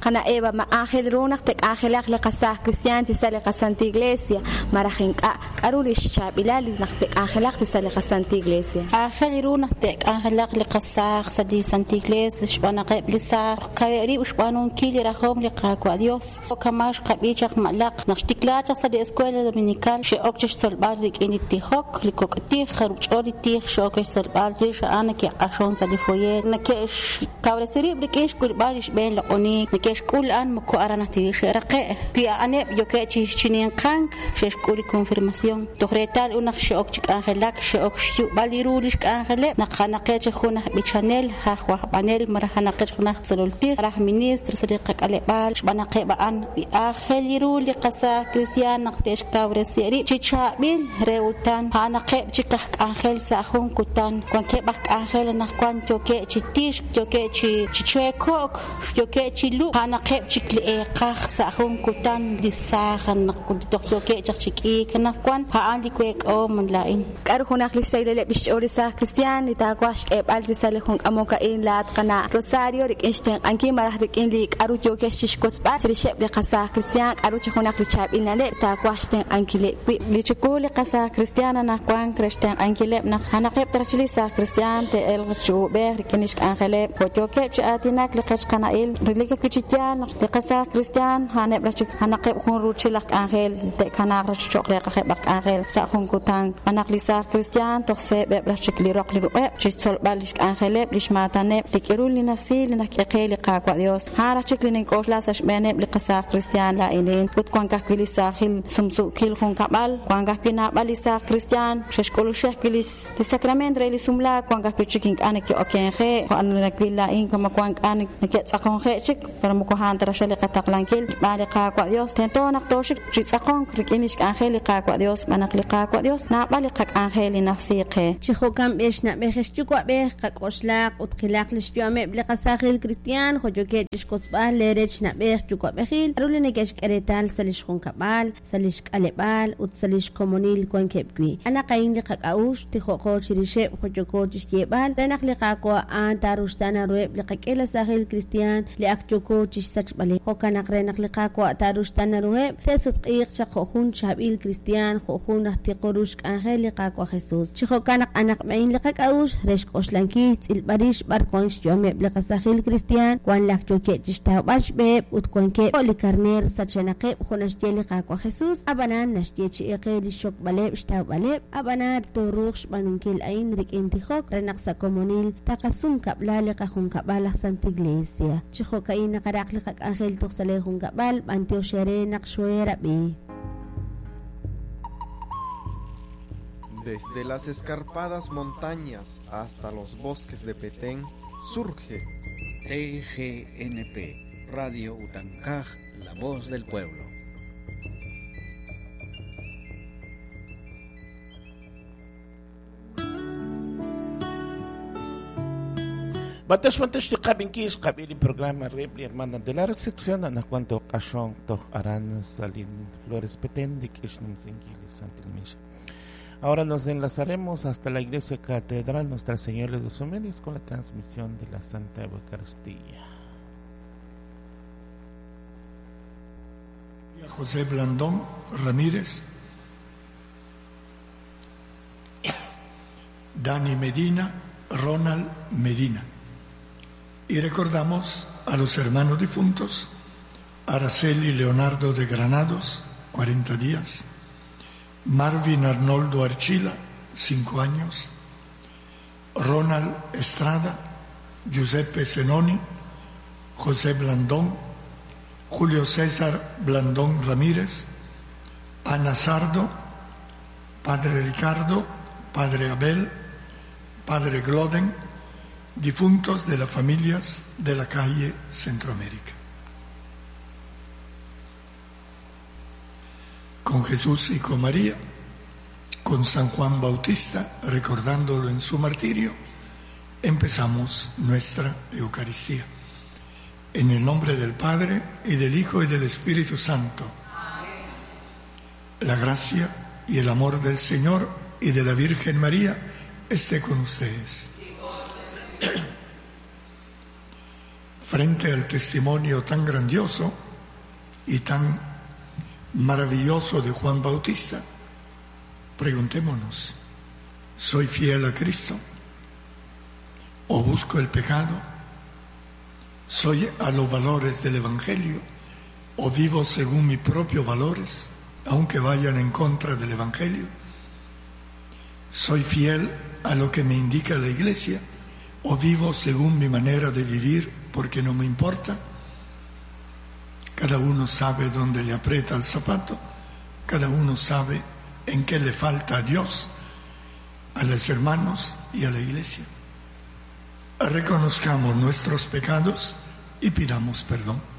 Qana' Eva, ma aajel ru naq te'k'anjelaq li qasaaj kristiaan chi sa' li qaSantil Iglesia, malaj ink'a'? K'a'ru lix chaab'ilal naq te'k'anjelaq chi sa' li qaSantil Iglesia? Aajel ru naq te'k'anjelaq li qasaaj sa' li Santil Iglesia xb'aan naq eb' li saaj kaweb' rib' xb'aanunkil li rajom li Qaawa' Dios. Kama xqab'i chaq malaq naq xtiklaak chaq sa' li Escuela Dominical xe'ok chixtzolb'al rik'in li tijok, li kok' tij, jarub' ch'ol li tij xe'ok chixtzolb'al rix a'an neke'q'axon sa' li foyer, neke'xkawresi rib' rik'in xk'ulb'al li xb'een loq'oniik, neke'xk'ul a'an moko aran ajwi' xe'raqe'. Wi a'aneb' yookeb' chi chininqank xe'xk'ul li confirmación. Toj reetal ut naq xe'ok chi k'anjelak, xe'ok xyu'b'al li ru lix k'anjeleb', naq a'anaqeb' chik jun aj b'ichanel, aj wajb'anel, malaj a'anaqeb' chik jun aj tzolol tij, malaj ministro sa' li qak'aleb'aal, xb'aan naq eb' a'an aajel ru li qasaaj kristiaan naq te'xkawresi rib' chi chaab'il re utan, a'anaqeb' chik aj k'anjel sa' jun kutan, wankeb' aj k'anjel anaqwan yookeb' chi tixk, yookeb' chi cheeko'k, yookeb' chi lub', a'anaqeb' chik li eeqaj sa' jun kutan li saaj naq toj yookeb' chaq chi k'iik anaqwan, a'an li week'oom laa'in. K'a'ru junaq li xsahileb' xch'ool li saaj kristiaan li taawaj xk'eeb'al chi sa' li jun k'amok a'in laat qana' Rosario rik'in xtenq'ankil malaj rik'in li k'a'ru yookex chixwotzb'al chirixeb' li qasaaj kristiaan, k'a'ru chi junaq li chaab'il na'leb' taawaj xtenq'ankileb' wi'. Li chiwu li qasaaj kristiaan anaqwan re xtenq'ankileb' naq a'anaqeb' taraj li saaj kristiaan te'elq chi uub'ej rik'in lix k'anjeleb' jo' yookeb' chi aatinak li qech qana'il relik ajwi' chi yaal naq li qasaaj kristiaan a'aneb' raj chik a'anaqeb' jun ruuchil aj k'anjel te'kanaaq raj cho'q reeqajeb' aj k'anjel sa' jun kutan. Anaq li saaj kristiaan toj seeb'eb' raj chik li roq li ruq'eb' chixtzolb'al lix k'anjeleb' lix maataneb' li k'iru li nasiil li najk'e qe li Qaawa' Dios. A'an raj chik li nink'oxla sa' xb'eeneb' li qasaaj kristiaan laa'inin. Ut wank ajwi' li saajil sumsuukil junkab'al, wank ajwi' naab'al li saaj kristiaan xe'xk'uluxej ajwi' li sacrament re li sumlaak, wank ajwi' chik ink'a' neke'okenje', jo' nawil laa'in kama wank k'a neke'tz'aqonje' chik, pero moko a'an ta raj li qataqlankil xb'aan li Qaawa' Dios. Tento naq tooxik chi tz'aqonk rik'in lix k'anjel li Qaawa' Dios, xb'aan naq li Qaawa' Dios naab'al li qak'anjel li najsi qe. Chi jo'kan b'ex na'b'ej ex yuwa'b'ej qak'oxlaq ut qilaq li xyu'ameb' li qasaajil kristiaan jo' yookeb' chixwotzb'al leerech na'b'ej yuwa'b'ejil k'a'ru li neke'xk'e reetal sa' lix junkab'al, sa' lix k'aleb'aal ut sa' lix komonil wankeb' wi'. Anaq a'in li qak'a'uxl tijo'qo chirixeb' jo' yooko chixyeeb'al re naq li Qaawa' a'an taaruxtaana ruheb' li qak'ila saajil kristiaan li ak yooko chixsachb'aleb'. Jo'kan naq re naq li Qaawa' taaruxtaana ruheb' te'sutq'iiq chaq jo' jun chaab'il kristiaan jo' jun aj tiqo ru xk'anjel li Qaawa' Jesus. Chi jo'kan naq anaq b'ein li qak'a'uxl re xk'oxlankil xtz'ilb'al rix b'ar wan xyu'ameb' li qasaajil kristiaan wan laj yookeb' chixtawb'al xb'eheb' ut wankeb' jo' li karneer sachenaqeb' jo' naxye li Qaawa' Jesus. Ab'anan naxye chi'eqe li xxokb'aleb' xtawb'aleb', ab'anan tooruuq xb'aanunkil a'in rik'in tijok re naq sa' komonil taqasum kab'la li qajunkab'al aj Santa Iglesia. Chi jo'ka'in naqaraq li qak'anjel toj sa' lee junkab'al, b'antiox eere naq xoerab'i. Desde las escarpadas montañas hasta los bosques de Petén surge TGNP, Radio Utancaj, la voz del pueblo. Batosh bantosh tiqab'inkix qab'i li programa reheb' li hermana de la recepción anaqwan toq'axon toj aran Salin Flores Petén rik'in xnumsinkil li Santil Misha. Ahora nos enlazaremos hasta la Iglesia Catedral Nuestra Señora de los Remedios con la transmisión de la Santa Eucaristía. José Blandón Ramírez, Dani Medina, Ronald Medina. Y recordamos a los hermanos difuntos, Araceli Leonardo de Granados, 40 días, Marvin Arnoldo Archila, 5 años, Ronald Estrada, Giuseppe Zenoni, José Blandón, Julio César Blandón Ramírez, Ana Sardo, Padre Ricardo, Padre Abel, Padre Gloden, difuntos de las familias de la calle Centroamérica. Con Jesús y con María, con San Juan Bautista, recordándolo en su martirio, empezamos nuestra Eucaristía. En el nombre del Padre, y del Hijo, y del Espíritu Santo. La gracia y el amor del Señor y de la Virgen María esté con ustedes. Frente al testimonio tan grandioso y tan maravilloso de Juan Bautista, preguntémonos, ¿soy fiel a Cristo? ¿O busco el pecado? ¿Soy a los valores del Evangelio? ¿O vivo según mis propios valores, aunque vayan en contra del Evangelio? ¿Soy fiel a lo que me indica la Iglesia? ¿O vivo según mi manera de vivir porque no me importa? Cada uno sabe dónde le aprieta el zapato, cada uno sabe en qué le falta a Dios, a los hermanos y a la Iglesia. Reconozcamos nuestros pecados y pidamos perdón.